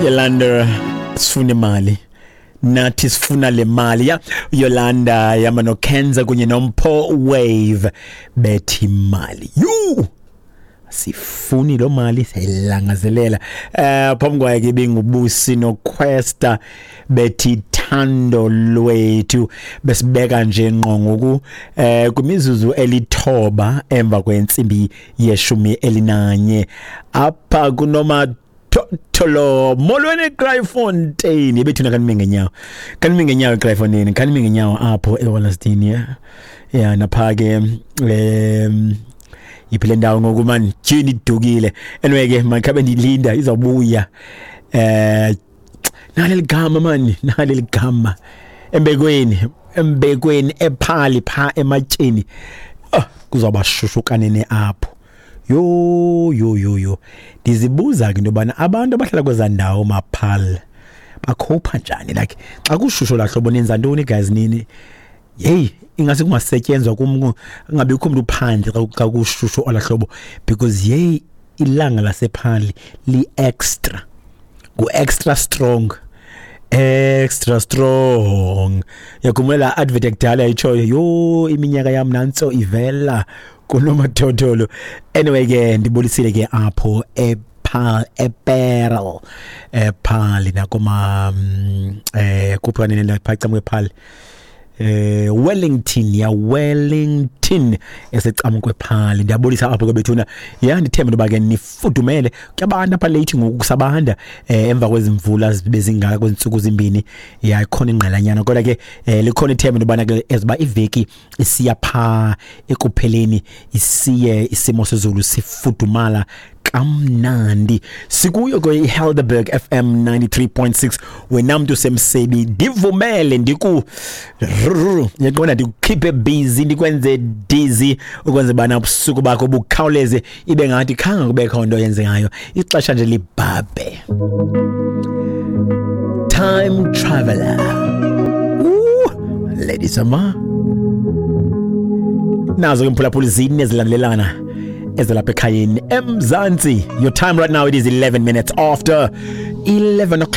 Yolanda, sifuna imali nathi, sifuna le mali ya Yolanda yama noKenza kunye noMpho Wave, bethi mali you sifuni lo mali, siyayilangazelela. Phambi kwaye ke benguBusi noQuesta, bethi thando lwethu. Besibeka nje ngqo ngoku kwimizuzu 9 emva kwentsimbi ye-11 apha kunoma Tholo. Molweni Kraaifontein, bethuna, kanime ngenyawo, kanime ngenyawo eKraaifontein, kanime ngenyawo apho eWallaston. Ya, napha ke iphi le ndawo ngoku man? Tyhini, idukile. Anyway ke makhabe ndilinda, izawubuya. Nali ligama mani, nali ligama, Embekweni, Embekweni, ephali pha ematyeni. Oh, kuzawuba shushu kanene apho. Yho yho yho yho, ndizibuza ke into yobana abantu abahlala kwezaa ndawo maphal bakhupha njani? Like xa kushushu laa hlobo, nenza ntoni guys nini? Yeyi, ingase kungasetyenzwa kum, kungabikho mntu phandle xa kushushu olaa hlobo, because yeyi, ilanga lasephali li-extra, ngu-extra strong, extra strong. Yakhumbula laa advert yakudala yayitshoyo? Yho, iminyaka yam nantso ivela kunomathotholo. Anyway ke ndibulisile ke apho ePaarl, ePaarl, ePaarl nakoma kuphi kanene phaa cam kwePaarl, Wellington ya, Wellington esecam kwephali. Ndiyabulisa apho ke bethuna. Ya, ndithemba into yoba ke nifudumele. Kuyabanda apha late ngoku, kusabanda emva kwezimvula zibe zingaka kwezi 2 ya, ikhona ingqelanyana, kodwa ke likhona ithemba into yobana ke eziba iveki isiya phaa ekupheleni, isiye isimo sezulu sifudumala kamnandi. Sikuyo ke iHelderberg FM 93.6. Wena mntu semsebi, ndivumele ndiku yaqonda, ndikukhiphe busy, ndikwenze dizzy ukwenze bana ubusuku bakho bukhawuleze, ibe ngathi khange kubekho nto yenzekayo, ixesha nje libhabhe. Time Traveler. Ooh, ladies ama nazo ke mphulaphuli, zine ezilandelelana ezalapha ekhayeni eMzantsi. Your time right now, it is 11 minutes after 11 o'clock.